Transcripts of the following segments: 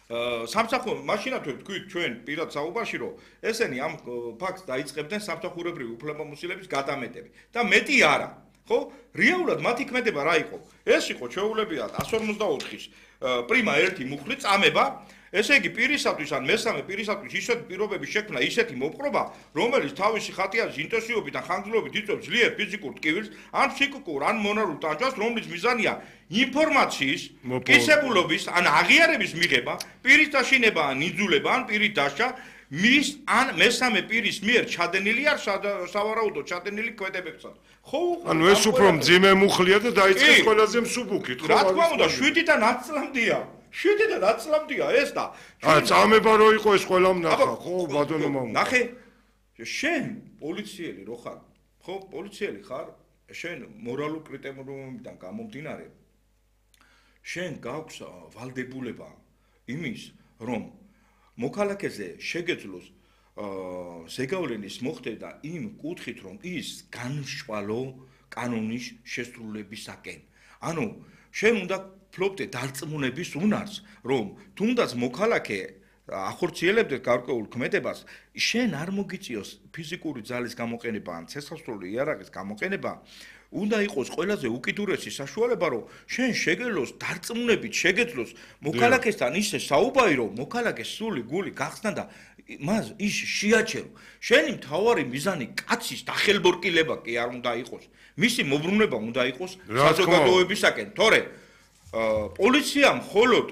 სამსახური მაშინაც თქვით ჩვენ პირად საუბარში რომ ესენი ამ ფაქტს დაიწყებდნენ სამსახურებრივი უფლებამოსილების გადამეტები და მეტი არა ხო რეალურად მათი ქმედება რა იყო ეს იყო ჩვეულებრივად 154-ის პრიმა 1 მუხლი წამება ესე იგი პირისათვის ან მესამე პირისათვის ისეთი პირობების შექმნა ისეთი მოპყრობა რომელიც თავისი ხატიარის ინტენსივობით ან ხანგრძლივობით იწვევს ძლიერ ფიზიკურ ტკივილს ან ფსიქიკურ ან მონარულ ტანჯვას რომლის მიზანია ინფორმაციის კისებულობის ან აღიარების მიღება პირის დაშინება ან იძულება ან პირის დაშა მის ან მესამე პირის მიერ ჩადენილი არ სავარაუდოდ ჩადენილი კვედებებსაც ხო ანუ ეს უფრო მძიმე მუხლია და დაიწყეს ყველაზე მსუბუქით ხო რა თქმა უნდა 7-დან 10 წლამდეა 7-დან 10 წლამდეა ეს და წამება რო იყო ეს ყველამ ნახა ხო ბატონო მამა ნახე შენ პოლიციელი რო ხარ ხო პოლიციელი ხარ შენ მორალურ კრიტერიუმებიდან გამომდინარე შენ გაქვს ვალდებულება იმის რომ მოქალაქეზე შეგეძლოს ზეგავლენის მოხდება იმ კუთხით რომ ის განშვალო კანონის შესრულებისაკენ ანუ შენ უნდა ფლობდე დარწმუნების უნარს რომ თუნდაც მოქალაქე ახორციელებდეს გარკვეულ ქმედებას შენ არ მოგიწიოს ფიზიკური ძალის გამოყენება ან ცეცხლსრული იარაღის გამოყენება უნდა იყოს ყველაზე უკიდურესი საშუალება რომ შენ შეგელოს დარწმუნებით შეგეძლოს მოქალაქესთან ისე საუბარი რომ მოქალაქეს სული გული გახსნა და მას ის შეაჩერო შენი მთავარი მიზანი კაცის დახელბორკილება კი არ უნდა იყოს მისი მოbrunება უნდა იყოს საზოგადოებისაკენ თორე პოლიცია მხოლოდ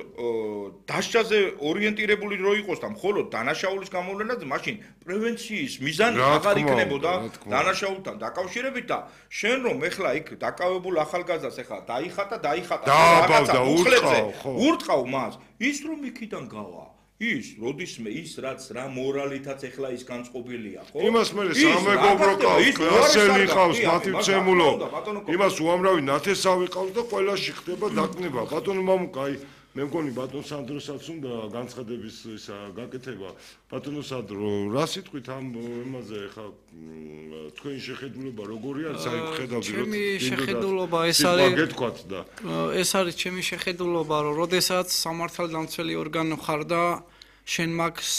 დაშაზე ორიენტირებული რო იყოს და მხოლოდ დანაშაულის გამოვლენაზე მაშინ პრევენციის მიზანი აღარ იქნებოდა დანაშაულთან დაკავშირებით და შენ რომ ეხლა იქ დაკავებულ ახალგაზრდას ეხლა დაიხატა რაღაცა ურტყავ მას ის რომ იქიდან გავა ის როდისმე ის რაც რა მორალითაც ეხლა ის განწყობილია ხო იმას მე სამეგობრო ყავს ასელი ყავს მათი მცემულო იმას უამრავი ნათესავი ყავს და ყველაში ხდება დაკნება ბატონო მამუკა აი მე მგონი ბატონ სანდროსაც უნდა განცხადების ისა გაკეთება ბატონო სანდრო რა სიტყვით ამ იმაზე ხა თქვენი შეხედულება როგორი არის აი ხედავდი რომ ჩემი შეხედულობა ეს არის ჩემი შეხედულობა რომ როდესაც სამართალდამცველი ორგანო ხარ და შენ მაგის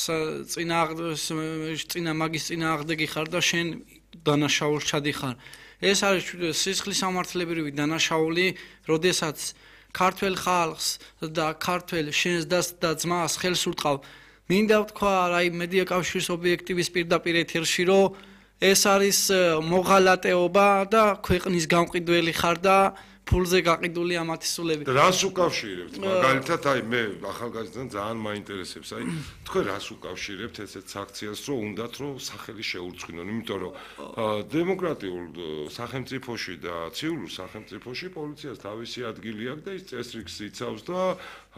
წინააღმდეგი ხარ და შენ დანაშაულს ჩადიხარ ეს არის სისხლის სამართლებრივი დანაშაული როდესაც ქართველ ხალხს და ქართველ შენს და ძმას ხელს ურტყავ მინდა ვთქვა აი მედია კავშირის ობიექტივის პირდაპირ ეთერში რომ ეს არის მოღალატეობა და ქვეყნის გამყიდველი ხარ და ფულზე გაყიდული ამათი სულები. რას უკავშირებთ? მაგალითად აი მე ახალგაზრდან ძალიან მაინტერესებს. აი თქვენ რას უკავშირებთ ესეთ აქციას რომ უნდათ რომ სახელი შეურწყინონ, იმიტომ რომ დემოკრატიულ სახელმწიფოში და ცივილურ სახელმწიფოში პოლიციას თავისი ადგილი აქვს და ის წესრიგს იცავს და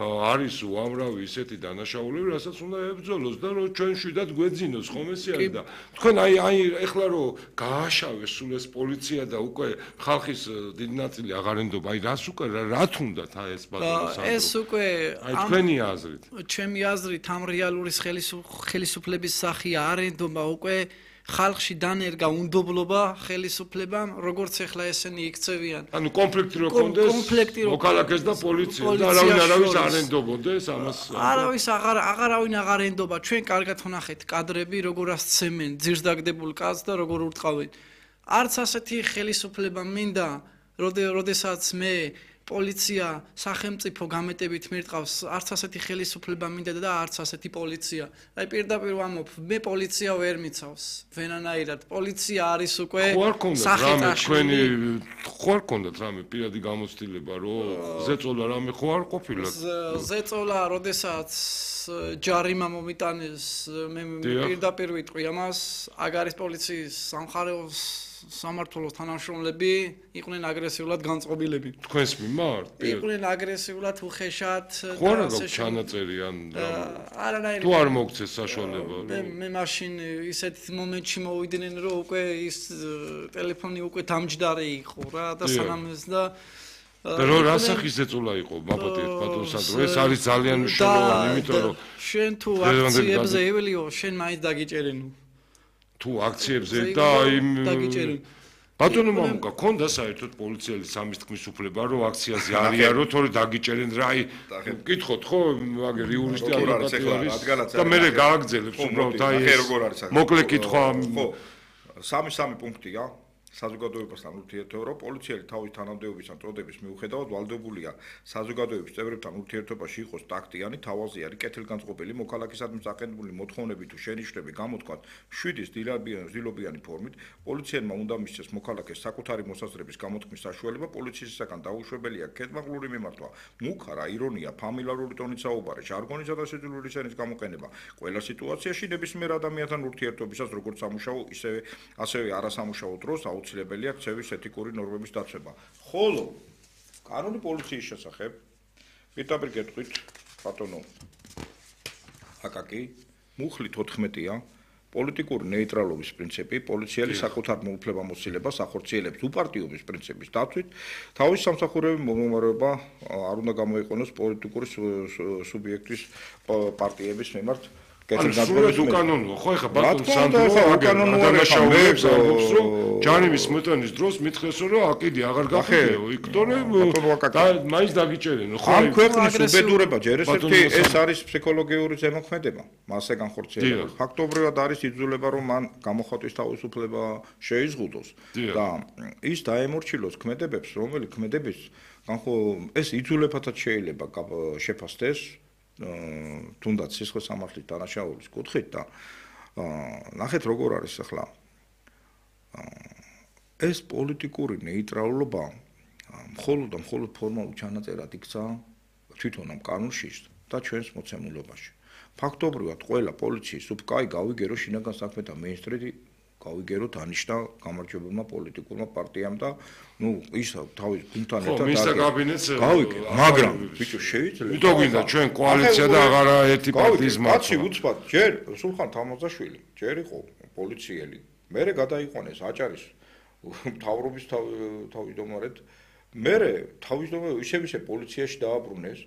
არის უამრავი ისეთი დანაშაულები, რასაც უნდა ებრძოლოს და რომ ჩვენ შვიდად გვეძინოს ხომ ესე არის და თქვენ აი ეხლა რომ გააშავეს სულ ეს პოლიცია და უკვე ხალხის დიდი ნაწილი აღარ ენდობა, აი რას უკვე რა თუნდათ აი ეს ბატონო სანდრო ეს უკვე აი თქვენი აზრით ჩემი აზრით ამ რეალური ხელისუფლების სახია არ ენდობა უკვე ხალხში დანერგა უნდობლობა ხელისუფლებამ როგორც ეხლა ესენი იქცევიან ანუ კონფლიქტი რო კონდეს მოქალაქეს და პოლიციას და არავის არ ენდობოდეს ამას არავინ აღარ ენდობა ჩვენ კარგად ვნახეთ კადრები როგორ ასცემენ ძირს დაგდებულ კაცს და როგორ ურტყავენ არც ასეთი ხელისუფლება მინდა როდესაც მე პოლიცია სახელმწიფო გამეტებით მირტყავს არც ასეთი ხელისუფლება მინდა და არც ასეთი პოლიცია აი პირდაპირ ვამბობ მე პოლიცია ვერ მიცავს ვენანაირად პოლიცია არის უკვე სახეთაში ხო არ ქონდათ რამე პირადი გამოცდილება რომ ზეწოლა რამე ხო არ ყოფილა ზეწოლა როდესაც ჯარიმა მომიტანეს მე პირდაპირ ვიტყვი ამას აგარის პოლიციის სამხარეოს სამართლოს თანამშრომლები იყვნენ აგრესიულად განწყობილები. თქვენს მიმართ? იყვნენ აგრესიულად უხეშად და ხო რა გაქვს ჩანაწერი ან არანაირი თუ არ მოგცეს საშუალება. მე მაშინ ისეთ მომენტში მოვიდნენ რომ უკვე ის ტელეფონი უკვე დამჯდარი იყო რა და სანამ ეს და რო რასახის ზეწოლა იყო ბაბათეთ ბატონ სანდრო ეს არის ძალიან მნიშვნელოვანი იმიტომ რომ შენ თუ აქციებზე ეველიო შენ მაინც დაგიჭერენო თუ აქციებზე და იმ ბატონო მამუკა, ქონდა საერთოდ პოლიციელი სამის თქმის უფლება, რომ აქციაზე არიარო, თორე დაგიჭერენ რა, აი, გკითხოთ ხო, აგერ იურისტი ადვოკატი არის და მე გააგრძელებს უბრალოდ აი ეს მოკლე კითხვა. ხო, 3 პუნქტია. საზოგადოებასთან ურთიერთობა, პოლიციელი თავის თანამდებობისა წოდების მიუხედავად ვალდებულია საზოგადოების წევრებთან ურთიერთობაში იყოს ტაქტიანი, თავაზიანი, კეთილგანწყობილი, მოქალაქისადმი საყენებული მოთხოვნები თუ შენიშვნები გამოთქვათ მშვიდის ძილობიანი ფორმით, პოლიციელმა უნდა მისცეს მოქალაქეს საკუთარი მოსაზრების გამოთქმის საშუალება, პოლიციისგან დაუშვებელია ქეთმაღლური მიმართვა, მუქარა, ირონია, ფამილარული ტონით საუბარი, ჟარგონისა და სიძულვილის ენის გამოყენება ყველა სიტუაციაში ნებისმიერ ადამიანთან ურთიერთობისას, როგორც სამუშაო, ასევე არასამუშაო დროს აუცილებელია ქცევის ეთიკური ნორმების დაცვა. ხოლო კანონი პოლიციის შესახებ პირდაპირ გეტყვით ბატონო აკაკი მუხლით 14-ია პოლიტიკური ნეიტრალობის პრინციპი, პოლიციელი საკუთარ მოუფლებამოსილებას ახორციელებს უპარტიობის პრინციპის დაცვით, თავის სამსახურების მომხმარება არ უნდა გამოიყენოს პოლიტიკური სუბიექტის პარტიების მიმართ. სრულად უკანონოა, ხო ეხა ბატონ სანდრო დანაშაულებს ამბობს, რომ ჯანიმის მოტანის დროს მითხეს, რომ აკიდი აღარ გახდეო, იქ თორე მაინც დაგიჭერენო, ხო? ამ ქვეყნის უბედურება ჯერ ეს არის ფსიქოლოგიური ზემოქმედება, მასზე განხორციელება. ფაქტობრივად არის იძულება, რომ მან გამოხატვის თავისუფლება შეიზღუდოს და ის დაემორჩილოს ქმედებებს, რომელი ქმედების ეს იძულებათაც შეიძლება შეფასდეს თუნდაც სისხლის სამართლის დანაშაულის კუთხით და ნახეთ როგორ არის ახლა ეს პოლიტიკური ნეიტრალობა მხოლოდ ფორმალურ ჩანაწერად იქცა თვითონ ამ კანონში და ჩვენს მოცემულობაში. ფაქტობრივად ყველა პოლიციის კაი გავიგერო შინაგან საქმეთა მინისტრი გავიგერო დანიშნა გამარჯვებულმა პოლიტიკურმა პარტიამ და ის თავის გუნდთან ერთად გავიგე, მაგრამ ბიჭო შეიძლება ვიტო გვინდა ჩვენ კოალიცია და აღარა ერთი პარტიის მართვა. კაცი უცბად ჯერ სულხან თამაზაშვილი ჯერ იყო პოლიციელი, მერე გადაიყვანეს აჭარის მთავრობის თავმჯდომარედ, მერე თავმჯდომარე ისე პოლიციაში დააბრუნეს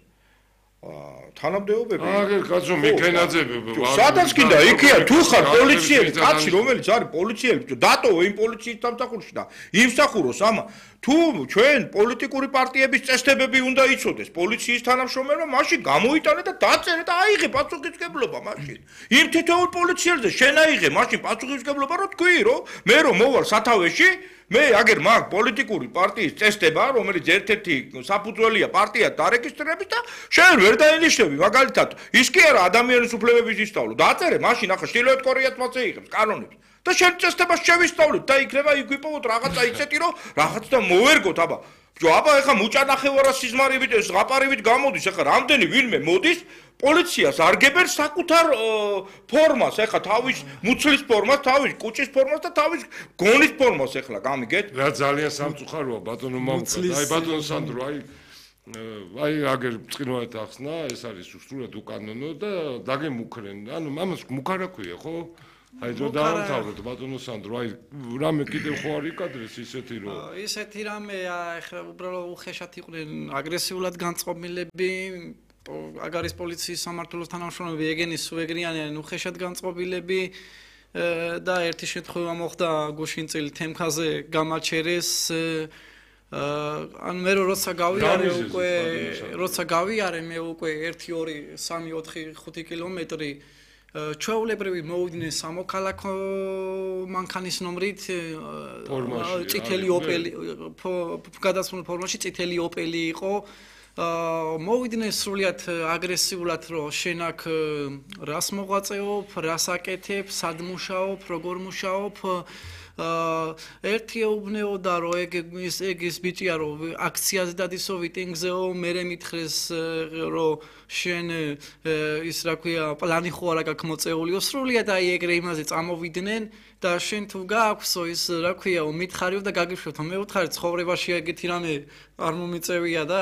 თანამდებობები აგერ კაცო მიქენაძები სადაც კიდე იქია თუ ხარ პოლიციელი კაცი რომელიც არის პოლიციელი დატოვო იმ პოლიციის სამსახურში და იმსახუროს ამა თუ ჩვენ პოლიტიკური პარტიების წესდებები უნდა იცოდეს პოლიციის თანამშრომელმა მაშინ გამოიტანე და დაწერე და აიღე პასუხისმგებლობა მაშინ იმ თითოეულ პოლიციელზე შენ აიღე მაშინ პასუხისმგებლობა რომ თქვი რომ მე რომ მოვალ სათავეში მე აგერ მაგ პოლიტიკური პარტიის წესდება რომელიც ერთ-ერთი საფუძველია პარტია დარეგისტრირების და შენ ვერ დაინიშნები მაგალითად ის კი არა ადამიანის უფლებების ისწავლო დაწერე მაშინ ახლა შილოეთ კორეაც მას ეიღებს კანონებს და შენ წესდებას შევისწავლებ და იქნება იგვიპოვოთ რაღაცა ისეთი რომ რაღაც და მოვერგოთ აბა აბა ეხა მუჭანახევარა სიზმარებით ეს ზღაპარებით გამოდის ეხა რამდენი ვინმე მოდის პოლიციას არგებენ საკუთარ ფორმას ეხა თავის მუცლის ფორმას თავის კუჭის ფორმას და თავის გონის ფორმას ეხლა გამიგეთ რა ძალიან სამწუხაროა ბატონო მამუკა აი ბატონო სანდრო აი აგერ წინვარად ახსნა ეს არის უსრულოდ უკანონო და დაგემუქრენ ანუ მამას მუქარა ქვია ხო აი რო დაამთავროთ ბატონო სანდრო აი რამე კიდევ ხო არის კადრეს ისეთი რომ ისეთი რამე ეხლა უბრალოდ უხეშად იყვნენ აგრესიულად განწყობილები აგარის პოლიციის სამმართველოს თანამშრომლები ეგენის სუეგრიანიან უხეშად განწყობილები და ერთი შემთხვევა მოხდა გუშინწილი თემქაზე გამაჩერეს ანუ მე როცა გავიარე მე უკვე 1 2 3 4 5 კილომეტრი ჩვეულებრივი მოვიდნენ სამოქალაქო მანქანის ნომრით წითელი ოპელი გადასმულ ფორმაში წითელი ოპელი იყო მოვიდნენ სრულიად აგრესიულად რომ შენ აქ რას მოღვაწეობ, რას აკეთებ, სად მუშაობ, როგორ მუშაობ ერთი ეუბნეოდა რომ ეგ ის ბიჭია რომ აქციაზე დადისო ვიტინგზეო მერე მითხრეს რომ შენ ის რა ქვია პლანი ხო არა გაქვს მოწეულიო სრულიად აი ეგრე იმაზე წამოვიდნენ და შენ თუ გააქვსო ის რა ქვია მითხარიო და გაგიშვებთო მე ვთხარი ცხოვრებაში ეგეთი რამე არ მომიწევია და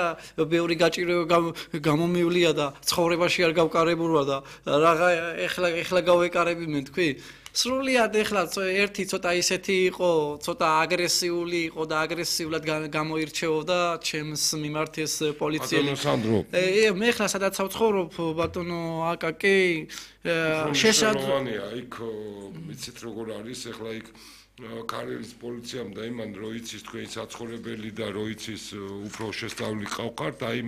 ბევრი გაჭირვება გამომივლია და ცხოვრებაში არ გავკარებულა და რაღა ეხლა გავეკარები მე თქვი სრულიად ეხლა ერთი ცოტა ისეთი იყო, ცოტა აგრესიული იყო და აგრესიულად გამოირჩეოდა ჩემს მიმართ ეს პოლიციელი. ბატონო სანდრო. მე ეხლა სადაც ვცხოვრობ, ბატონო აკაკი, შესაძლებელია იქ მიცით როგორ არის ეხლა იქ კარიერის პოლიციამ და იმან რო იცის თქვენი საცხოვრებელი და რო იცის უფრო შესწავლილი ყავყართ, აი